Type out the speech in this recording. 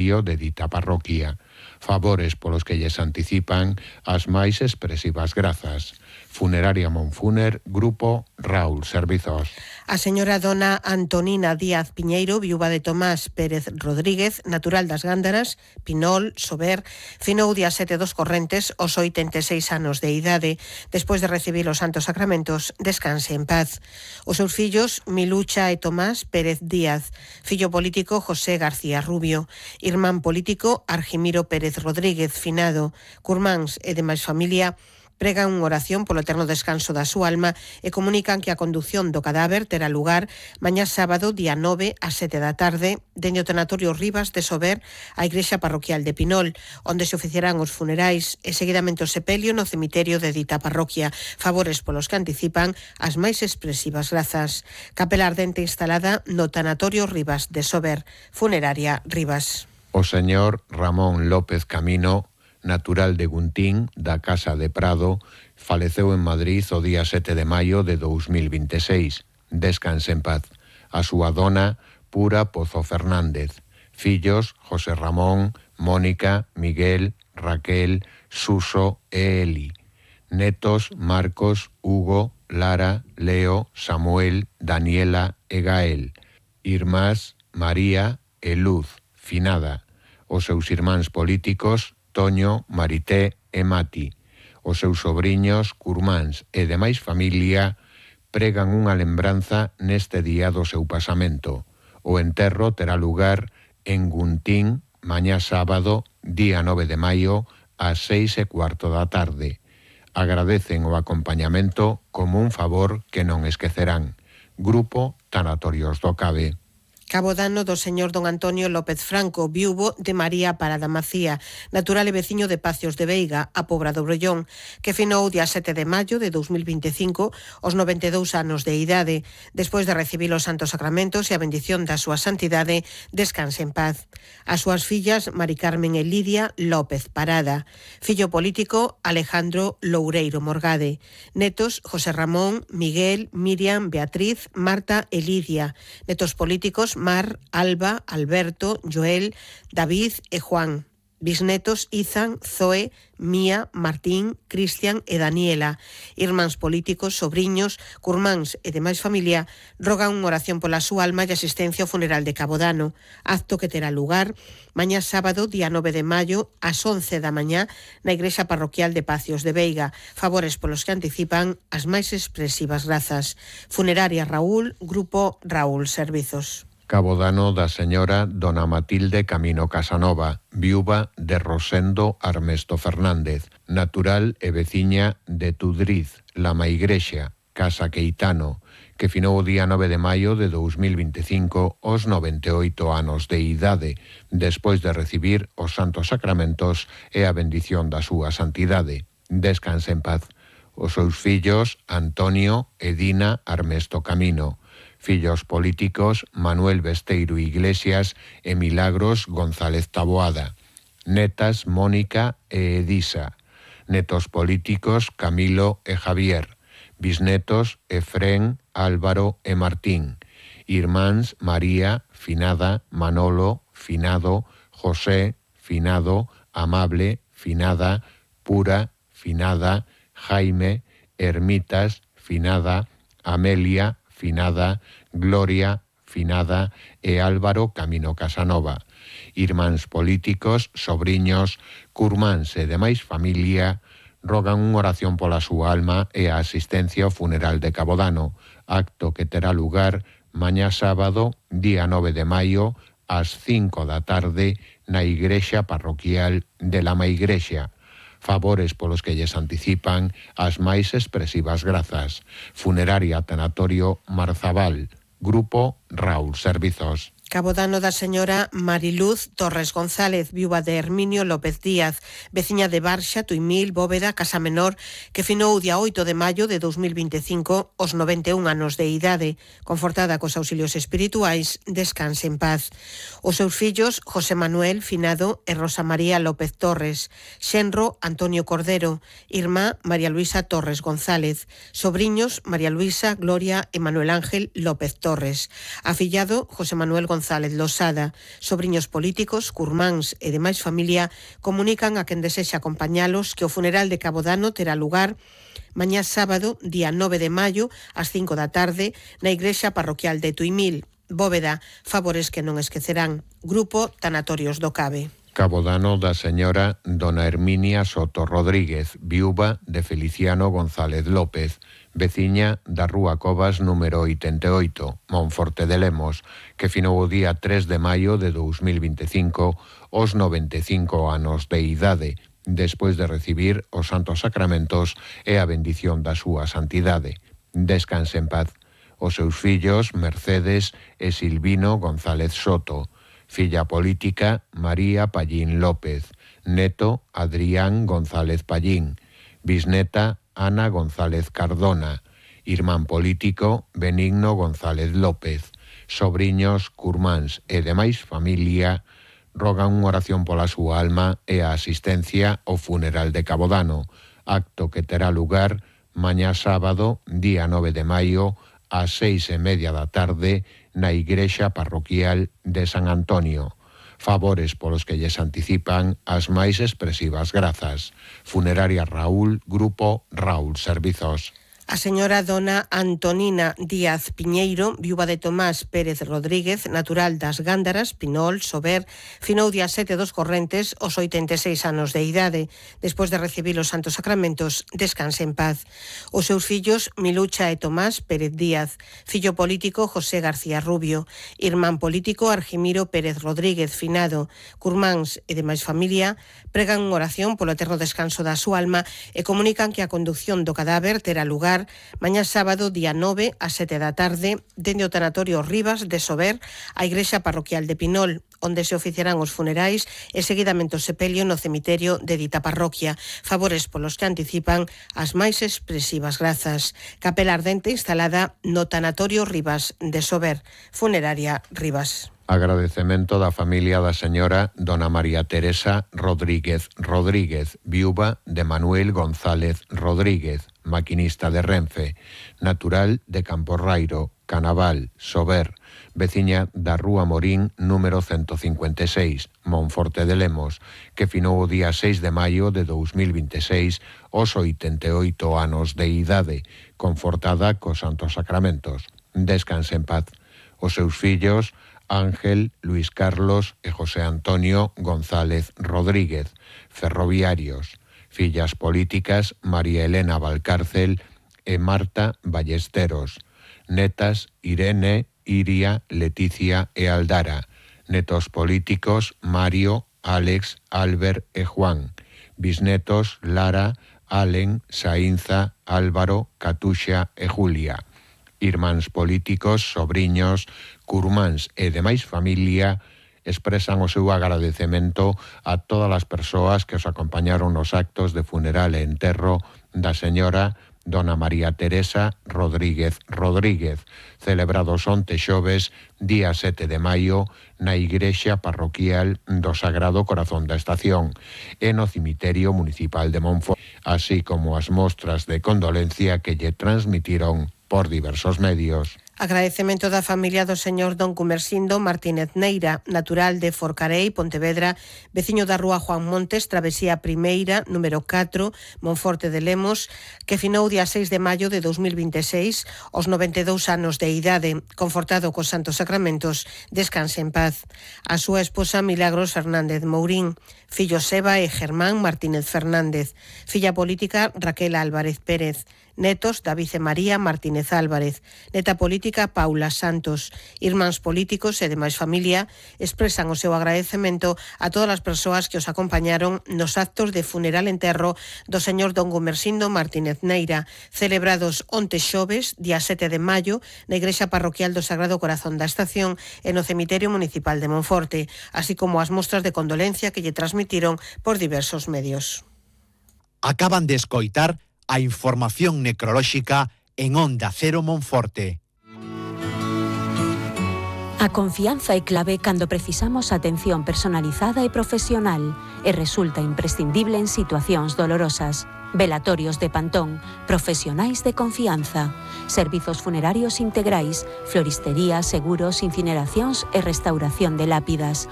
de dita parroquia. Favores polos que lles anticipan as máis expresivas grazas. Funeraria Monfuner, Grupo Raúl Servizos. A señora dona Antonina Díaz Piñeiro, viúva de Tomás Pérez Rodríguez, natural das Gándaras, Pinol, Sober, finou día 7 dos correntes aos 86 anos de idade. Despois de recibir os santos sacramentos, descanse en paz. Os seus fillos, Milucha e Tomás Pérez Díaz, fillo político José García Rubio, irmán político Argimiro Pérez Rodríguez, finado, curmáns e demais familia, pregan unha oración polo eterno descanso da súa alma e comunican que a condución do cadáver terá lugar mañá sábado, día 9, ás 7 da tarde, dende o tanatorio Rivas de Sober á igrexa parroquial de Pinol, onde se oficiarán os funerais e seguidamente o sepelio no cemiterio de dita parroquia. Favores polos que anticipan as máis expresivas grazas. Capela ardente instalada no tanatorio Rivas de Sober. Funeraria Rivas. O señor Ramón López Camino, natural de Guntín, da Casa de Prado, faleceu en Madrid o día 7 de maio de 2026. Descanse en paz. A súa dona, Pura Pozo Fernández. Fillos, José Ramón, Mónica, Miguel, Raquel, Suso e Eli. Netos, Marcos, Hugo, Lara, Leo, Samuel, Daniela e Gael. Irmás, María e Luz, finada. Os seus irmáns políticos, Toño, Marité e Mati. Os seus sobriños, curmáns e demais familia pregan unha lembranza neste día do seu pasamento. O enterro terá lugar en Guntín mañá sábado, día 9 de maio, ás 6:15 da tarde. Agradecen o acompañamento como un favor que non esquecerán. Grupo Tanatorios do Cabe. Cabodano do señor don Antonio López Franco, viúvo de María Parada Macía, natural e veciño de Pacios de Veiga, a Pobra do Brollón, que finou día 7 de maio de 2025 aos 92 anos de idade. Despois de recibir os santos sacramentos e a bendición da súa santidade, descanse en paz. As súas fillas, Mari Carmen e Lidia López Parada. Fillo político, Alejandro Loureiro Morgade. Netos, José Ramón, Miguel, Miriam, Beatriz, Marta e Lidia. Netos políticos, Mar, Alba, Alberto, Joel, David e Juan. Bisnetos, Izan, Zoe, Mía, Martín, Cristian e Daniela. Irmáns políticos, sobriños, curmáns e demais familia rogan unha oración pola súa alma e asistencia ao funeral de Cabodano, acto que terá lugar mañá sábado, día 9 de maio, ás 11 da mañá, na igrexa parroquial de Pacios de Veiga. Favores polos que anticipan as máis expresivas grazas. Funeraria Raúl, Grupo Raúl Servizos. Cabodano da señora dona Matilde Camino Casanova, viúva de Rosendo Armesto Fernández, natural e veciña de Tudriz, La Maigrexa, Casa Queitano, que finou o día 9 de maio de 2025 aos 98 anos de idade, despois de recibir os santos sacramentos e a bendición da súa santidade. Descanse en paz. Os seus fillos, Antonio e Dina Armesto Camino. Fillos políticos, Manuel Besteiro Iglesias e Milagros González Taboada. Netas, Mónica e Edisa. Netos políticos, Camilo e Javier. Bisnetos, Efrén, Álvaro e Martín. Irmáns, María, finada, Manolo, finado, José, finado, Amable, finada, Pura, finada, Jaime, Ermitas, finada, Amelia, finada, Gloria, finada e Álvaro Camino Casanova. Irmáns políticos, sobriños, curmáns e demais familia rogan unha oración pola súa alma e a asistencia ao funeral de Cabodano, acto que terá lugar mañá sábado, día 9 de maio, ás 5 da tarde, na igrexa parroquial de La Maigrexa. Favores polos que lles anticipan as máis expresivas grazas. Funeraria Tanatorio Marzabal, Grupo Raúl Servizos. Cabodano da señora Mariluz Torres González, viúva de Herminio López Díaz, veciña de Barxa, Tuimil, Bóveda, Casa Menor, que finou o día 8 de maio de 2025 aos 91 anos de idade. Confortada cos auxilios espirituais, descanse en paz. Os seus fillos, José Manuel Finado e Rosa María López Torres, xenro Antonio Cordero, irmá María Luisa Torres González, sobriños María Luisa, Gloria e Manuel Ángel López Torres, afillado José Manuel González González Losada. Sobriños políticos, curmáns e demais familia comunican a quen desexa acompañalos que o funeral de Cabodano terá lugar mañá sábado, día 9 de maio, ás 5 da tarde, na igrexa parroquial de Tuimil. Bóveda, favores que non esquecerán. Grupo Tanatorios do Cabe. Cabodano da señora dona Herminia Soto Rodríguez, viúva de Feliciano González López, veciña da Rúa Covas número 88, Monforte de Lemos, que finou o día 3 de maio de 2025 aos 95 anos de idade, despois de recibir os santos sacramentos e a bendición da súa santidade. Descanse en paz. Os seus fillos, Mercedes e Silvino González Soto, filla política, María Pallín López, neto, Adrián González Pallín, bisneta, Ana González Cardona, irmán político, Benigno González López, sobriños, curmáns e demais familia, rogan unha oración pola súa alma e a asistencia ao funeral de Cabodano, acto que terá lugar mañá sábado, día 9 de maio, ás 6:30 da tarde, na igrexa parroquial de San Antonio. Favores polos que lles anticipan as máis expresivas grazas. Funeraria Raúl, Grupo Raúl Servizos. A señora dona Antonina Díaz Piñeiro, viúva de Tomás Pérez Rodríguez, natural das Gándaras, Pinol, Sober, finou día 7 dos correntes aos 86 anos de idade. Despois de recibir os santos sacramentos, descanse en paz. Os seus fillos, Milucha e Tomás Pérez Díaz, fillo político José García Rubio, irmán político Argimiro Pérez Rodríguez, finado, curmáns e demais familia, pregan unha oración polo eterno descanso da súa alma e comunican que a conducción do cadáver terá lugar mañá sábado, día 9, ás 7 da tarde, dende o tanatorio Rivas de Sober, a igrexa parroquial de Pinol, onde se oficiarán os funerais e seguidamente o sepelio no cemiterio de dita parroquia. Favores polos que anticipan as máis expresivas grazas. Capela ardente instalada no tanatorio Rivas de Sober, funeraria Rivas. Agradecemento da familia da señora dona María Teresa Rodríguez Rodríguez, viúva de Manuel González Rodríguez, maquinista de Renfe, natural de Camporrairo, Canaval, Sober, veciña da Rúa Morín número 156, Monforte de Lemos, que finou o día 6 de maio de 2026 aos 88 anos de idade, confortada cos santos sacramentos. Descanse en paz. Os seus fillos, Ángel, Luis Carlos e José Antonio González Rodríguez, ferroviarios, fillas políticas, María Elena Valcárcel e Marta Ballesteros, netas, Irene, Iria, Leticia e Aldara, netos políticos, Mario, Alex, Albert e Juan, bisnetos, Lara, Allen, Saínza, Álvaro, Catuxa e Julia, irmáns políticos, sobriños, curmáns e demais familia, expresan o seu agradecemento a todas as persoas que os acompañaron nos actos de funeral e enterro da señora dona María Teresa Rodríguez Rodríguez, celebrados onte xoves, día 7 de maio, na igrexa parroquial do Sagrado Corazón da Estación e no cemiterio municipal de Monforte, así como as mostras de condolencia que lle transmitiron por diversos medios. Agradecemento da familia do señor don Cumersindo Martínez Neira, natural de Forcarei, Pontevedra, veciño da Rúa Juan Montes, Travesía Primeira, número 4, Monforte de Lemos, que finou día 6 de maio de 2026, aos 92 anos de idade, confortado cos santos sacramentos, descanse en paz. A súa esposa Milagros Fernández Mourín, fillo Seba e Germán Martínez Fernández, filla política Raquel Álvarez Pérez, netos David e María Martínez Álvarez, neta política Paula Santos, irmáns políticos e demais familia expresan o seu agradecemento a todas as persoas que os acompañaron nos actos de funeral enterro do señor don Gumersindo Martínez Neira, celebrados onte xoves, día 7 de maio, na igrexa parroquial do Sagrado Corazón da Estación e no cemiterio municipal de Monforte, así como as mostras de condolencia que lle transmitiron por diversos medios. Acaban de escoitar a información necrolóxica en Onda Cero Monforte. A confianza é clave cando precisamos atención personalizada e profesional e resulta imprescindible en situacións dolorosas. Velatorios de Pantón, profesionais de confianza. Servizos funerarios integrais, floristería, seguros, incineracións e restauración de lápidas.